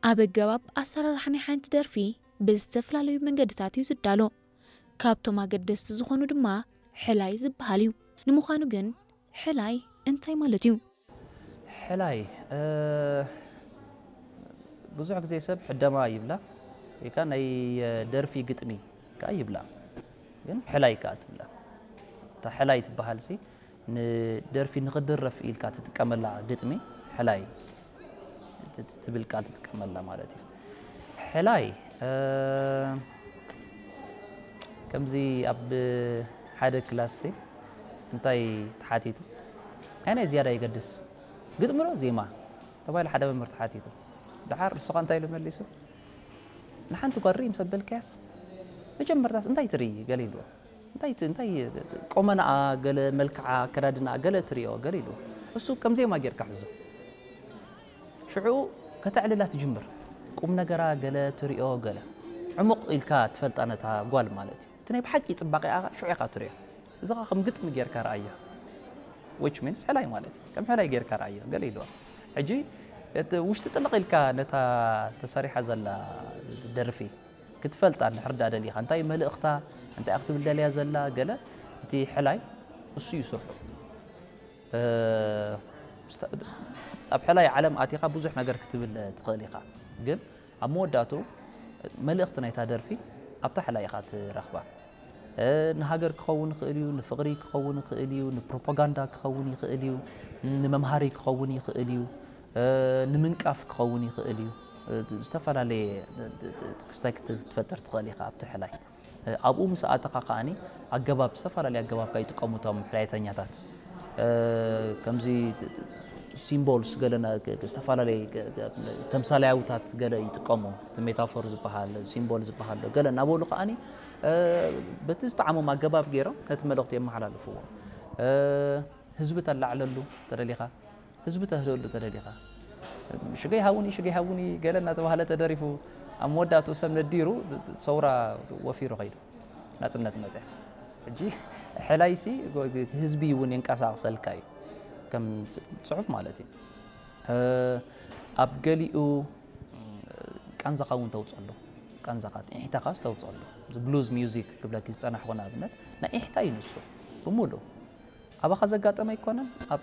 ኣብ ኣገባብ ኣሰራርሓ ናይ ሓንቲ ደርፊ ብዝተፈላለዩ መንገድታት እዩ ዝዳሎ። ካብቶም ኣገደስቲ ዝኾኑ ድማ ሕላይ ዝበሃል እዩ። ንምዃኑ ግን ሕላይ እንታይ ማለት እዩ? ሕላይ ብዙሕ ግዜ ሰብ ሕደማ ይብላ፣ ወይ ከዓ ናይ ደርፊ ግጥሚ ከዓ ይብላ፣ ግን ሕላይ ከዓ ትብላ። እታ ሕላይ ትበሃል ሲ ንደርፊ ንክድረፍ ኢልካ ትጥቀመላ ግጥሚ ሕላይ ትብል ቃል ትጥቀመላ ማለት እዩ። ሕላይ ከምዚ ኣብ ሓደ ክላስ እንታይ ተሓቲቱ፣ ኣየናይ ዝያዳ ይገድስ፣ ግጥሚ ዶ ዜማ ተባሂሉ ሓደ መምህር ተሓቲቱ። ደሓር ንስኻ እንታይ ኢሉ መሊሱ? ንሓንቲ ጓል ርኢ ምስ ኣበልካያስ መጀመርታስ እንታይ ትርኢ ገለ ኢልዎ። እንታይ ት- እንታይ ቆመናኣ፣ ገለ መልክዓ፣ ኣከዳድናኣ ገለ ትሪኦ ገለ ኢልዎ። እሱ ከም ዜማ ጌርካ ሕዞ። ሽዑ ከተዕልላ ትጅምር። ቁም ነገራ ገለ ትሪኦ ገለ ዕሙቕ ኢልካ ትፈልጣ ነታ ጓል ማለት እዩ። እቲ ናይ ብሓቂ ጽባቐኣ ሽዑ ኢኻ ትሪኦ። እዚ ኸኣ ከም ግጥሚ ጌርካ ረኣያ። Which means ሕላይ ማለት እዩ። ከም ሕላይ ጌርካ ረኣያ ገለ ኢልዋ። ሕጂ እቲ ውሽጢ ጥልቕ ኢልካ ነታ ተሰሪሓ ዘላ ደርፊ ክትፈልጣ እንድሕር ደኣ ደሊኻ፣ እንታይ መልእኽታ፣ እንታይ ክትብል ደልያ ዘላ ገለ፣ እቲ ሕላይ እሱ እዩ ስርሑ። ኣብ ሕላይ ዓለም ኣቲኻ ብዙሕ ነገር ክትብል ትኽእል ኢኻ፣ ግን ኣብ መወዳእቱ መልእኽቲ ናይታ ደርፊ ኣብታ ሕላይ ኢኻ ትረኽባ። ንሃገር ክኸውን ይኽእል እዩ፣ ንፍቕሪ ክኸውን ይኽእል እዩ፣ ንፕሮፓጋንዳ ክኸውን ይኽእል እዩ፣ ንመምሃሪ ክኸውን ይኽእል እዩ፣ ንምንቃፍ ክኸውን ይኽእል እዩ። ዝተፈላለየ ክስታይ ክትፈጥር ትኽእል ኢኻ ኣብቲ ሕላይ። ኣብኡ ምስ ኣተኻ ከኣኒ ኣገባብ፣ ዝተፈላለየ ኣገባብ ከኣ ይጥቀሙ እቶም ሕላይተኛታት። ከምዚ ሲምቦልስ ገለ ና- ዝተፈላለየ ተምሳሌያውታት ገለ ይጥቀሙ። እቲ ሜታፎር ዝበሃል፣ ሲምቦል ዝበሃል ገለ እናበሉ ከኣኒ በቲ ዝጠዓሞም ኣገባብ ገይሮም ነቲ መልእኽቲ የመሓላልፍዎ። ህዝቢ ተላዕለሉ ተደሊኻ፣ ህዝቢ ተህድእሉ ተደሊኻ፣ ሽገይ ሃውኒ ሽገይ ሃውኒ ገለ እናተባህለ ተደሪፉ ኣብ መወዳእትኡ ሰብ ነዲሩ ሰውራ ወፊሩ ከይዱ፣ ናጽነት መጽያ። ሕጂ ሕላይሲ ህዝቢ እውን የንቀሳቕሰልካ እዩ፣ ከም ጽሑፍ ማለት እዩ። ኣብ ገሊኡ ቃንዛኻ እውን ተውፅኣሉ፣ ቃንዛኻ ጥሒታኻስ ተውፅኣሉ። እዚ ብሉዝ ሚውዚክ ክብለኪ ዝፀናሕኩ ንኣብነት ናይ ኢሕታ እዩ ንሱ ብምሉእ። ኣባኻ ዘጋጠመ ኣይኮነን፣ ኣብ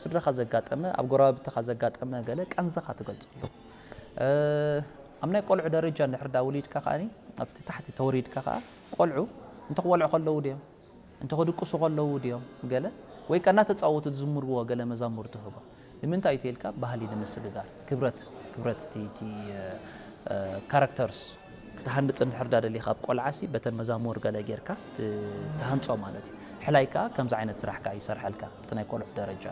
ስድራኻ ዘጋጠመ፣ ኣብ ጎረባብትኻ ዘጋጠመ ገለ ቃንዛኻ ትገልፀሉ። ኣብ ናይ ቆልዑ ደረጃ እንድሕር ዳ ወሊድካ ከኣ ኣብቲ ታሕቲ ተወሪድካ ከኣ ቆልዑ እንተክበልዑ ከለዉ ድዮም እንተክድቅሱ ከለዉ ድዮም ገለ ወይ ከኣ እናተፃወቱ ዝዝምርዎ ገለ መዛሙር ትህቦ። ንምንታይ እዩ ተልካ ባህሊ ንምስግጋር ክብረት ክብረት እቲ እቲ ካራክተርስ ክትሃንፅ እንድሕር ዳ ደሊኻ ኣብ ቆልዓሲ በተን መዛሙር ገለ ጌርካ ትሃንፆ ማለት እዩ። ሕላይ ከኣ ከምዚ ዓይነት ስራሕ ከኣ ይሰርሐልካ ኣብቲ ናይ ቆልዑ ደረጃ።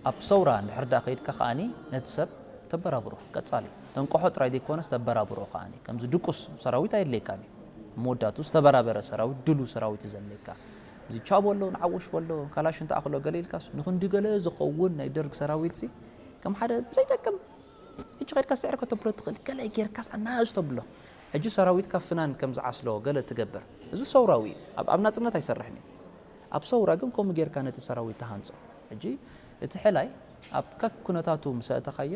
ኣብ ሰውራ እንድሕር ዳ ከይድካ ከኣኒ ነቲ ሰብ ተበራብሮ ቀጻሊ ተንቆሖ ጥራይ ዘይኮነስ ተበራብሮ ከኣኒ ከምዚ ድቁስ ሰራዊት ኣየድለየካን እዩ። መወዳቱ ዝተበራበረ ሰራዊት ድሉ ሰራዊት እዩ ዘድለየካ። እዚ ቻ በሎ ንዓወሽ በሎ ካላሽ እንተኣኽሎ ገለ ኢልካስ ንክንዲ ገለ ዝኸውን ናይ ደርግ ሰራዊት ሲ ከም ሓደ ዘይጠቅም ሕጂ ከድካ ስዕር ከተብሎ ትኽእል ገለ ጌርካስ ኣናእሽ ተብሎ። ሕጂ ሰራዊትካ ፍናን ከም ዝዓስሎ ገለ ትገብር። እዚ ሰውራዊ እዩ። ኣብ ኣብ ናጽነት ኣይሰርሕን እዩ። ኣብ ሰውራ ግን ከምኡ ጌርካ ነቲ ሰራዊት ትሃንጾ። ሕጂ እቲ ሕላይ ኣብ ከክ ኩነታቱ ምስ ኣእተኻዮ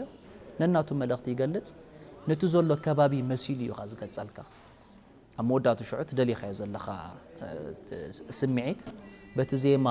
ነናቱ መልእኽቲ ይገልጽ። ነቲ ዘሎ ከባቢ መሲሉ እዩ ዝገልጸልካ። ኣብ መወዳእቱ ሽዑ ትደሊኻዮ ዘለኻ ስምዒት በቲ ዜማ